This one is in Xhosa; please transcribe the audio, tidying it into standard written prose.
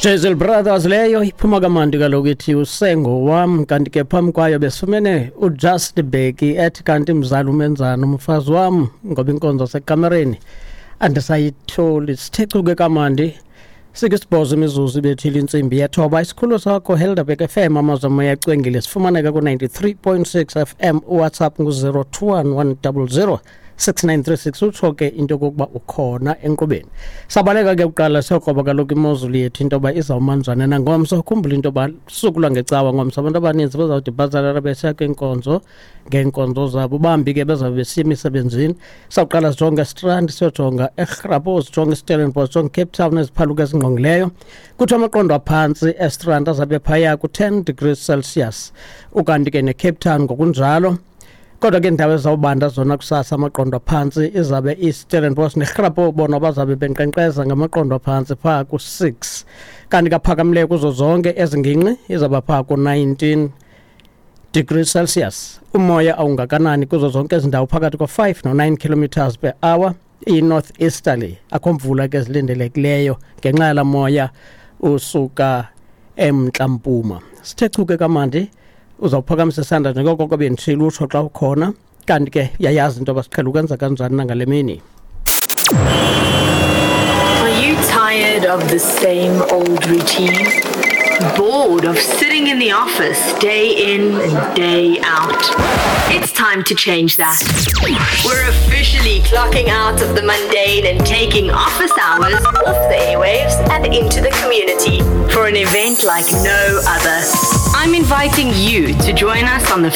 Jezel Brothers leyo iphuma kamandi kaloku ithi usengo wam. Kanti ke phambi kwayo besifumene uJust Beki ethi kanti mzali umenzani umfazi wam, ngoba inkonzo sekamereni andisayitholi. Sithe chuke kamandi 68 imizuzu ibethile intsimbi yethoba. Isikhululo sakho Helderberg FM, amazwi amoya acwengile, sifumaneka ku-93.6 FM. UWhatsApp ngu-021 100 6936, utsho ke into yokokuba ukhona enkqubeni. Sabaleka ke kuqala siyokroba kaloku imozulu yethu into yoba izawumanzana nangomso. Khumbula into yoba suku lwangecawa ngomso, abantu abaninzi bazawuthi bhazalala besiya kwiinkonzo ngeenkonzo zabo, bambi ke bezawube besiya emisebenzini. Sawuqala sijonge eStrand, siyojonga eRhapo, sijonge iStellenbosch, sijonge Cape Town, eziphaluka ezingqongileyo. Kuthiwa amaqondo aphantsi eStrand azabe phaya ku-10 degrees Celsius, ukanti ke neCape Town ngokunjalo. Kodwa ke indawo ezawubanda zona kusasa amaqondo aphantsi izabe iStellenbosch neRhapo, bona bazabe benkqenkqeza ngamaqondo aphantsi phaa ku-6, kanti kaphakamileyo kuzo zonke ezi ngingqi izawuba phaa ku-19 degrees Celsius. Umoya awungakanani kuzo zonke ezi ndawo, phakathi ko-5 no-9 kilometers per hour, i-north easterly. Akho mvula ke zilindelekileyo ngenxa yala moya usuka emntla-mpuma. Sithe chuke kamandi, uzawuphakamisa isandla njengoko benditshilo, utsho xa ukhona. Kanti ke yayazi into yoba siqhela ukwenza kanjani nangale mini. Are you tired of the same old routine? Bored of sitting in the office day in and day out? It's time to change that. We're officially clocking out of the mundane and taking office hours off the airwaves and into the community for an event like no other. I'm inviting you to join us on the